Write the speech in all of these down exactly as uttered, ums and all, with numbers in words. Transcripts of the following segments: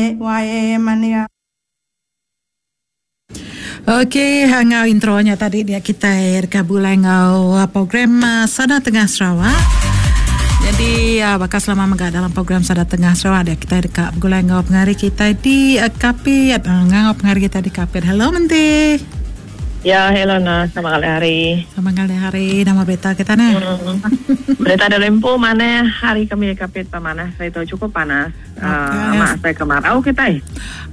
Y mania. Okey, ngau intronya tadi dia kita dekat bulan ngau program Sada Tengah Sarawak. Jadi bakal selama megah dalam program Sada Tengah Sarawak dia kita dekat bulan ngau pengari kita di Kapit. Ngau pengari kita di Kapit. Hello Menti. Ya, hello nah, selamat kali hari. Selamat kali hari. Nama berita kita nah. Hmm. Berita dari Lempo mana hari kami di Kapit pamanah saya tahu cukup panas. Okay. Uh, mak saya kemarau kita.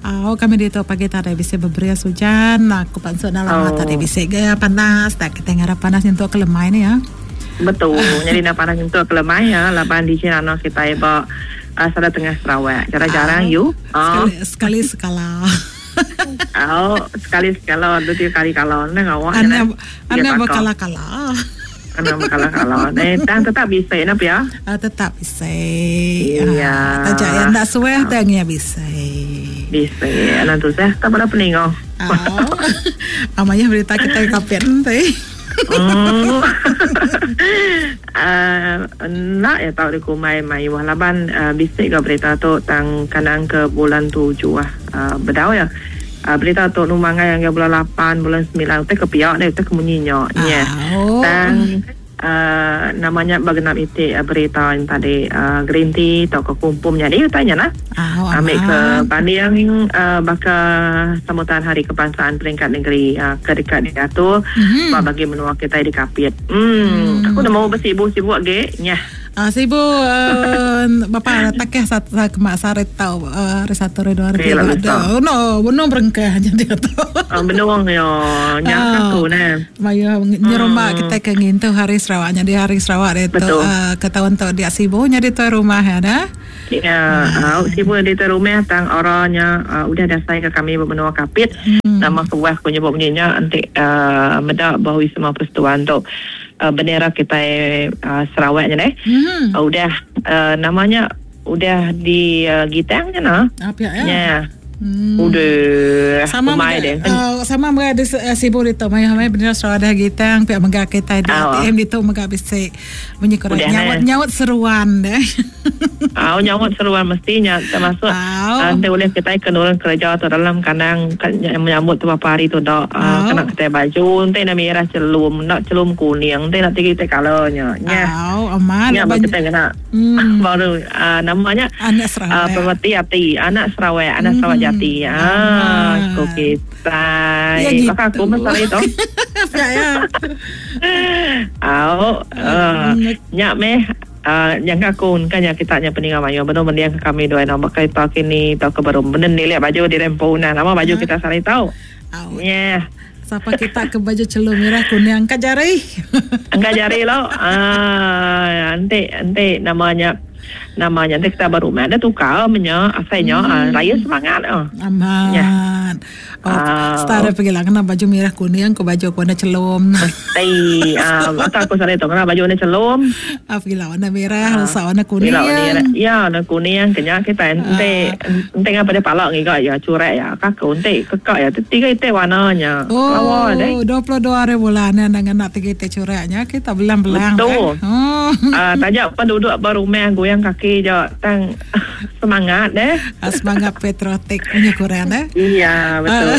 Oh, kami di tu pagi tadi bisa beberia hujan. Aku pansuk dalam Oh. tadi bisa gaya panas. Tak kita ngarap panas untuk kelemai ni ya. Betul. Jadi nak panas untuk kelemai ya. Lapan di sini anak kita ibu uh, Sada Tengah Sarawak. Jarang-jarang Oh. you. Oh. Sekali, sekali sekala. Oh, sekali sekala, dua tiga kali kalau nang awak. Anda Dia anda bakal. berkala-kala. Anda berkala-kala. Eh, tang tetap bisa nak ya. Ah, tetap bisa. Iya. Ah, tajak yang tak suah tang ya bisa. Bisa. Nanti saya tak pada peningo. Oh. Amanya berita kita kapit nanti. Hmm. Uh, nak ya tahu di kumai mai wah laban uh, bisik ke berita tu tang kanang ke bulan tujuh ah uh, bedau ya. Uh, berita tu numangai yang ke bulan lapan, bulan sembilan teh ke pihak deh teh kemunyinya nya. Oh. Tang uh, namanya bagenap itik uh, berita yang tadi uh, green tea atau ke kumpumnya dia tanya lah. Oh, Ambil ke aman. banding uh, bakal sambutan Hari Kebangsaan peringkat negeri uh, ke dekat diatur Mhm. mm-hmm. bagi menua kita di Kapit. Hmm, aku dah mau bersibuk-sibuk ge. Nyah. Ah, sibuk uh, bapa takeh satu kemak sarit tau uh, hari satu hari dua hari Eh, tiga. lalu Ada. Oh, no, benar berengkah jadi tu. Uh, benuang yo nyah Ah. aku nah. Maya nyerombak kita ke ngintu hari Sarawaknya di hari Sarawak dia tu Betul. uh, ke tahun tu dia sibuknya di tuan rumah ya dah. Ya, uh, sibuk di tuan rumah tang orangnya uh, udah dasar ke kami bermenua Kapit. Hmm. Nama kebuah aku nyebut bunyinya nanti uh, medak bahawa semua persetuan tu uh, bendera kita uh, Sarawaknya deh. Hmm. Uh, udah uh, namanya udah di uh, gitang je nah. Apa ya? Ya. Hmm. Udah. Sama Umai mega, deh. uh, sama mega di uh, sibuk di tu maya maya bendera Sarawak dah gitang pihak mega kita di Ah. A T M di tu mega bisa bunyi korang Udah, nyaut nah. nyaut seruan deh. Ah, nyaut seruan mestinya termasuk Ah. nanti boleh kita kena orang kerja atau dalam kandang kan, yang menyambut tu beberapa hari tu dak Ah. uh, kena kita baju nanti nak merah celum nak celum kuning nanti nak tiga kita colornya nya. Au, aman. Nya Banyak- baru kita kena Hmm. baru uh, namanya Anak uh, Sarawak. Pemerti Hati anak Sarawak anak Sarawak Jati. Ah, Aman. aku kita. Ya gitu. Maka aku masalah itu. Ya ya. Au, uh, nyak meh Uh, yang aku kan yang kita nya peninggal mayo benar mendiang ke kami dua nama kereta kini tau ke baru benar ni lihat baju di rempo nah nama baju kita sari tau Au. nya Siapa kita ke baju celum merah kuning angkat jari. angkat jari lo ah nanti nanti namanya namanya nanti kita baru ada tukar menya asalnya hmm. ah, raya semangat ah Aman. Ya. Oh, Ah. setara pergi lah kena baju merah kuning ke baju warna celum. Mesti ah atau aku sari tau kena baju ni celum Ah, pergi lah warna merah, lusa warna kuning. Bila ni ya warna kuning kenya kita ente ente ngapa dia palak ngiga ya curek ya kaku ente kekak ya tiga ite warnanya. Lawa deh. Oh, dua puluh dua hari bulan ni dengan nak tiga ite cureknya kita belang-belang. Betul. Eh? Oh. Ah tajak penduduk berumah goyang kaki je tang semangat deh. Ah, semangat patriotik punya kurang eh. Iya betul.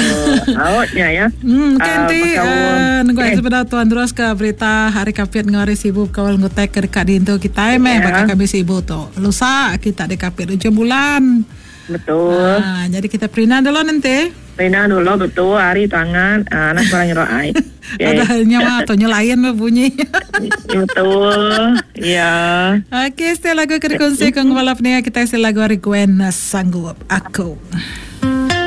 Outnya ya. Hmm, Ah, nanti bakal- uh, nunggu Eh. eh. sebentar tuan terus ke berita hari kapit ngari sibuk kawal ngutek ke dekat dintu kita eh meh Ya. bakal kami sibuk tu. Lusa kita di kapit ujung bulan. Betul. Ah, jadi kita perina dulu nanti. Rina dulu betul hari tangan ah, anak kurang nyerok ai. Okay. Ada nyawa atau nyelayan bunyi. Betul. Ya. Okey, setelah lagu ke dikongsi ke kepala peningat kita isi lagu hari Gwen Sanggup Aku.